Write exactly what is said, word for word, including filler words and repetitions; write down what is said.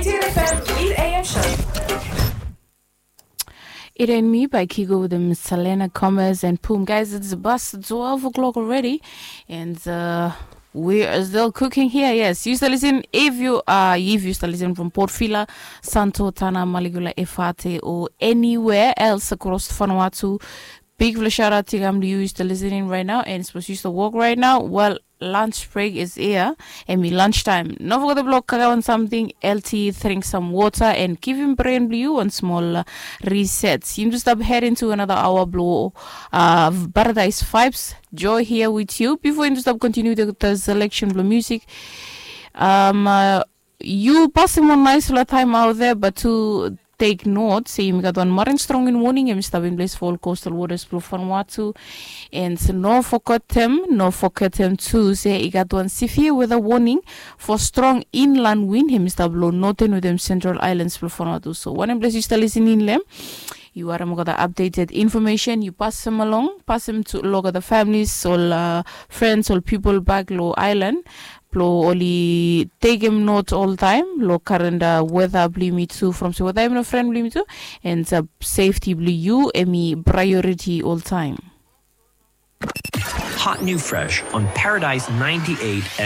Tirefem eight A M show. It ain't me by Kigo with the Miss Selena Gomez and Pum. Guys, it's past twelve o'clock already, and uh, we are still cooking here. Yes, you still listen. If you are, if you still listen from Port Vila, Santo, Tana, Maligula, Efate, or anywhere else across Vanuatu, big fla shout out to you. You still listening right now, and suppose you still work right now. Well, lunch break is here. Hemi lunch time. No forget the block, kakawan something, L T, drink some water, and give him brain blue one small uh, reset. Yim tu stap head into another hour blo uh, Paradise Vibes. Joy here with you. Before yim tu stap continue the, the selection blo music. Um, uh, you pasim wan nice fla time out there, but to take note se yumi gat wan marin strong in warning, yumi stap in place for all coastal waters blo Vanuatu. And no forgetem, no forgetem tu se i gat wan severe weather warning for strong inland wind, hemi stap lo northern with them central islands blo Vanuatu. So wanem ples yu stap listening lem, yu harem olgeta updated information, yu pasim along, pasim tu lo olgeta families, ol uh, friends, ol people back lo island blo oli tekem note oltaem lo current uh, weather blo yumi tu, from se weather hemi no friend blo yumi tu, and uh, safety blo yu hemi priority oltaem. Hot new fresh on Paradise ninety-eight